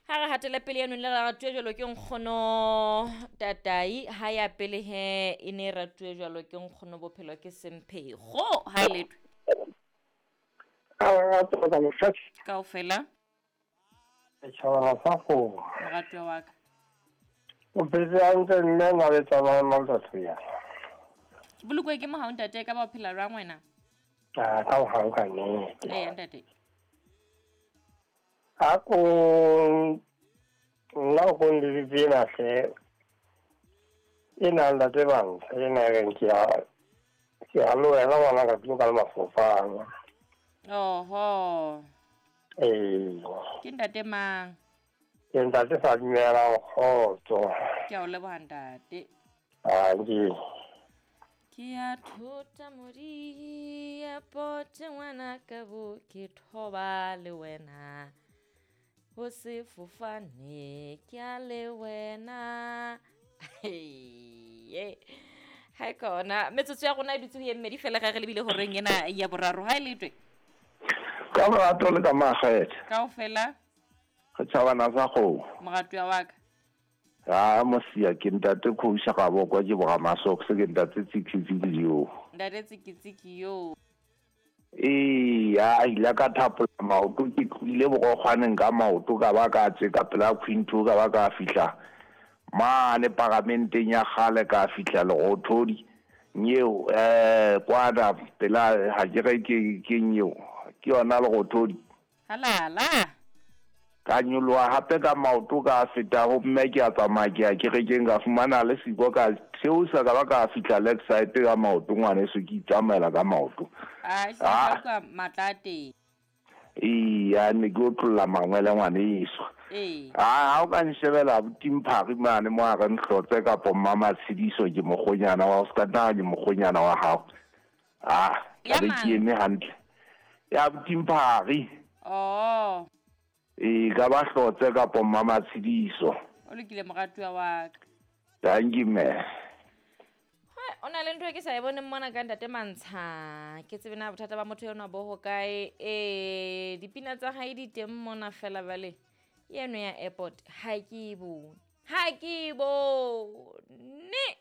Ha re hatele pele eno le ratuwe jwalo ke nkgono tatai ha ya pele he e ne e ratuwe jwalo ke nkgono bophelo ke semphego ha e letwe. Kaofela. Setjhaba sa kgomo. Moratuwa wa ka. O phetse hantle mme na le tsamaya matsatsi ya. Ke bolokwe ke mohau ntate ka ba o phela jwang wena? Ah, ka mohau ka nnete. Ee ntate. A ko nna o ko nleletse ena hle. Ena ntate Bantsha ena e reng ke ya ke ya le wena ngwana ka tulo ka le mafofane. Oho. Ee. Ke ntate mang? Ke ntate sa dumelang kgotso. Ke a o leboha ntate. Anke. Ke ya thota modi ya pote ngwana ka bo ke thoba le wena. Ho sefofane ke a le wena. Ha e kona metsotso ya rona e dutse ho ye mmedi fela ga re lebile horeng ena ya boraro ha e letwe. Ka morato le ka makgethe. Kaofela. Re tjhabana sa kgomo. Moratuwa wa ka. Ha mosia ke ntate Khousha ga bokwa ke boga masoks ke ntate Tsikitsiki yo. Ntate Tsikitsiki yo. Ee, a ile ka thapola maoto ke tlohile bogokgwaneng ka maoto ka ba ka tse ka pela Quinto ka ba ka fihla mane paramenteng ya kgale ka fihla Lerothodi nyeo kwana pela ha ke re ke nyeo ke yona Lerothodi. Halala. Ka nyoloha hape ka maoto ka feta ho mme ke a tsamaya ke ya kerekeng ka fumana le siko ka theosa ka ba ka fihla Lakeside ka maoto ngwaneso ke itsamaela ka maoto. A ah ka matla teng. Ee, ne ke otlolla mangwele ngwaneso. Ee. Ah, ha o ka nshebela abuti Mphari mane mo a re nhlotse kapo Mmamatshediso ke mokgonyana wa o ska nna ke mokgonyana wa hao. Ah, Ya ka be mang? ke eme hantle. Ya abuti Mphari. Oh. Ee, ka ba hlotse kapo Mmamatshediso. O lokile moratuwa wa ka. Thank you, mme. O na le ntho e ke sa e boneng mona ka ntate Mantsha. Ke tsebe na bothata ba motho enwa bo hokae. Ee, dipina tsa hae di teng mona fela bale. Eno ya airport ha ke e bone. Ha ke e bone.